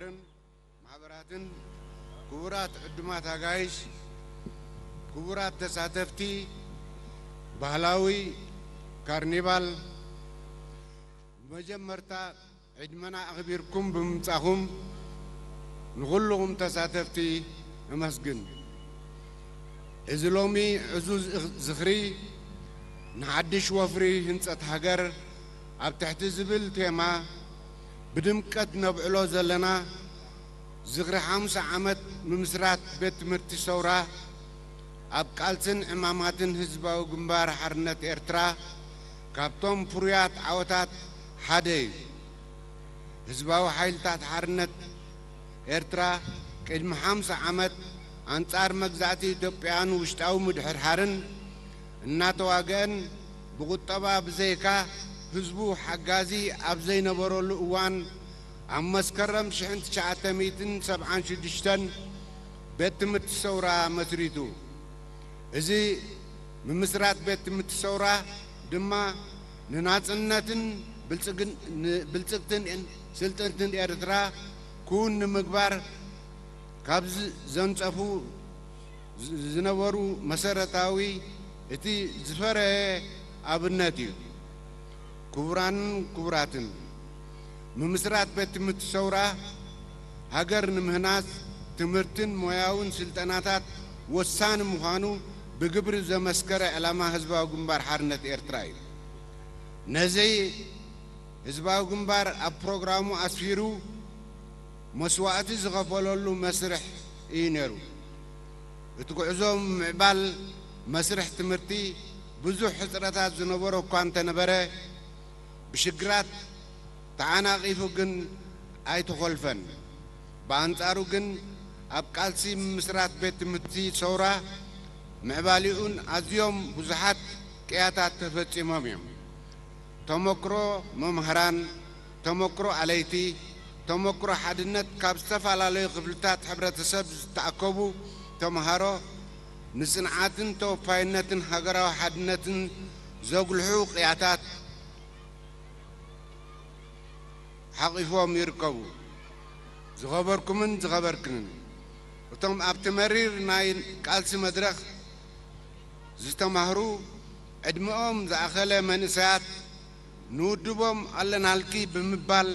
ማሕበራትን ክቡራት ዕዱማት ኣጋይሽ፣ ክቡራት ተሳተፍቲ ባህላዊ ካርኒቫል፣ ብመጀመርታ ዕድመና ኣኽቢርኩም ብምምጻኹም ንኹልኹም ተሳተፍቲ እመስግን። እዚ ሎሚ ዕዙዝ ዝኽሪ ንሓድሽ ወፍሪ ህንጸት ሃገር ኣብ ትሕቲ ዝብል ቴማ ብድምቀት ነብዕሎ ዘለና ዝኽሪ ሓምሳ ዓመት ምምስራት ቤት ትምህርቲ ሰውራ ኣብ ቃልስን ዕማማትን ህዝባዊ ግንባር ሓርነት ኤርትራ ካብቶም ፍሩያት ዓወታት ሓደ እዩ። ህዝባዊ ሓይልታት ሓርነት ኤርትራ ቅድሚ ሓምሳ ዓመት ኣንጻር መግዛእቲ ኢትዮጵያን ውሽጣዊ ምድሕርሓርን እናተዋግአን ብቁጠባ ብዘይካ ህዝቡ ሓጋዚ ኣብ ዘይነበረሉ እዋን ኣብ መስከረም ሽሕን ትሽዓተ ሚእትን ሰብዓን ሽዱሽተን ቤት ትምህርቲ ሰውራ መስሪቱ። እዚ ምምስራት ቤት ትምህርቲ ሰውራ ድማ ንናጽነትን ብልጽግን-፣ ንብልጽግትን ስልጥንትን ኤርትራ ክውን ንምግባር ካብ ዝ-፣ ዘንጸፉ ዝ-፣ ዝነበሩ መሰረታዊ እቲ ዝፈረየ ኣብነት እዩ። ክቡራንን ክቡራትን፣ ምምስራት ቤት ትምህርቲ ሰውራ ሃገር ንምህናጽ ትምህርትን ሞያውን ስልጠናታት ወሳኒ ምዃኑ ብግብሪ ዘመስከረ ዕላማ ህዝባዊ ግንባር ሓርነት ኤርትራ እዩ። ነዚ ህዝባዊ ግንባር ኣብ ፕሮግራሙ ኣስፊሩ መስዋእቲ ዝኸፈለሉ መስርሕ እዩ ነይሩ። እቲ ጉዕዞ ምዕባል መስርሕ ትምህርቲ ብዙሕ ሕጽረታት ዝነበሮ እኳ እንተነበረ፣ ብሽግራት ተዓናቒፉ ግን ኣይተኾልፈን። ብኣንጻሩ ግን ኣብ ቃልሲ ምምስራት ቤት ትምህርቲ ሰውራ ምዕባሊኡን ኣዝዮም ብዙሓት ቅያታት ተፈጺሞም እዮም። ተመክሮ መምህራን፣ ተመክሮ ኣለይቲ፣ ተመክሮ ሓድነት ካብ ዝተፈላለዩ ክፍልታት ሕብረተሰብ ዝተኣከቡ ተምሃሮ ንጽንዓትን ተወፋይነትን ሃገራዊ ሓድነትን ዘጉልሑ ቅያታት ሓቒፎም ይርከቡ። ዝኸበርኩምን ዝኸበርክንን፣ እቶም ኣብቲ መሪር ናይ ቃልሲ መድረኽ ዝተማህሩ ዕድመኦም ዝኣኸለ መንእሰያት ንውድቦም ኣለናልኪ ብምባል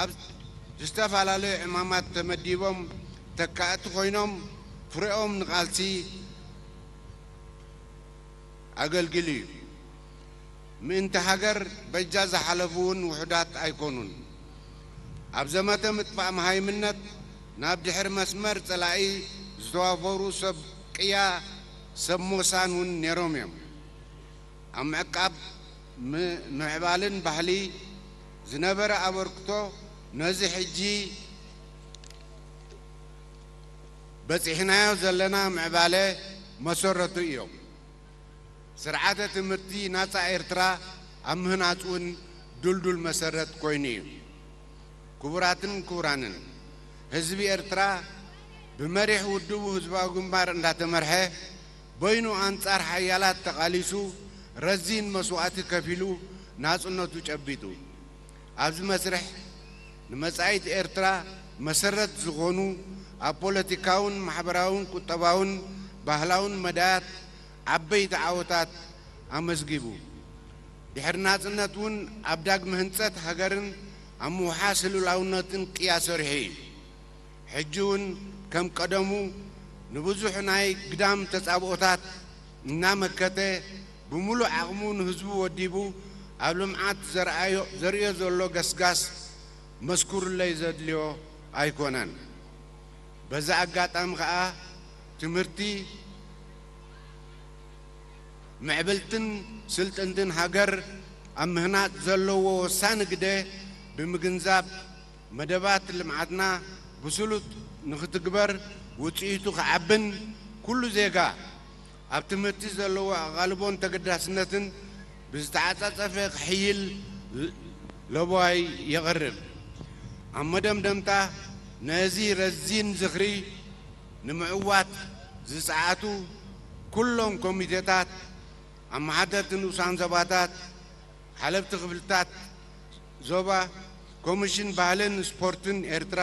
ኣብ ዝተፈላለዩ ዕማማት ተመዲቦም ተካእቲ ኮይኖም ፍሬኦም ንቃልሲ ኣገልጊሉ እዩ። ምእንቲ ሃገር በጃ ዝሓለፉ እውን ውሑዳት ኣይኮኑን። ኣብ ዘመተ ምጥፋእ መሃይምነት ናብ ድሕሪ መስመር ጸላኢ ዝተዋፈሩ ሰብ ቅያ ሰብ ሞሳን እውን ነይሮም እዮም። ኣብ ምዕቃብ ም-፣ ምዕባልን ባህሊ ዝነበረ ኣበርክቶ ነዚ ሕጂ በጺሕናዮ ዘለና ምዕባለ መሰረቱ እዮም። ስርዓተ ትምህርቲ ናጻ ኤርትራ ኣብ ምህናጽ እውን ድልዱል መሰረት ኮይኑ እዩ። ክቡራትን ክቡራንን፣ ህዝቢ ኤርትራ ብመሪሕ ውድቡ ህዝባዊ ግንባር እንዳተመርሐ በይኑ ኣንጻር ሓያላት ተቓሊሱ ረዚን መስዋእቲ ከፊሉ ናጽነቱ ጨቢጡ። ኣብዚ መስርሕ ንመጻኢት ኤርትራ መሰረት ዝኾኑ ኣብ ፖለቲካውን ማሕበራውን ቁጠባውን ባህላውን መዳያት ዓበይቲ ዓወታት ኣመዝጊቡ። ድሕሪ ናጽነት እውን ኣብ ዳግመ ህንጸት ሃገርን ኣብ ምውሓስ ልኡላውነትን ቅያ ሰሪሑ እዩ። ሕጂ እውን ከም ቀደሙ ንብዙሕ ናይ ግዳም ተጻብኦታት እናመከተ ብምሉእ ዓቕሙ ንህዝቡ ወዲቡ ኣብ ልምዓት ዘርኣዮ-፣ ዘርእዮ ዘሎ ገስጋስ መስኩርለይ ዘድልዮ ኣይኮነን። በዚ ኣጋጣሚ ኸኣ ትምህርቲ ምዕብልትን ስልጥንትን ሃገር ኣብ ምህናጽ ዘለዎ ወሳኒ ግደ ብምግንዛብ መደባት ልምዓትና ብስሉጥ ንኽትግበር ውጽኢቱ ክዓብን ኩሉ ዜጋ ኣብ ትምህርቲ ዘለዎ ኣቓልቦን ተገዳስነትን ብዝተዓጻጸፈ ክሕይል ለበዋይ የቕርብ። ኣብ መደምደምታ ነዚ ረዚን ዝኽሪ ንምዕዋት ዝጸዓቱ ኩሎም ኮሚቴታት፣ ኣመሓደርቲ ንኡሳን ዞባታት፣ ሓለፍቲ ክፍልታት ዞባ፣ ኮሚሽን ባህልን ስፖርትን ኤርትራ፣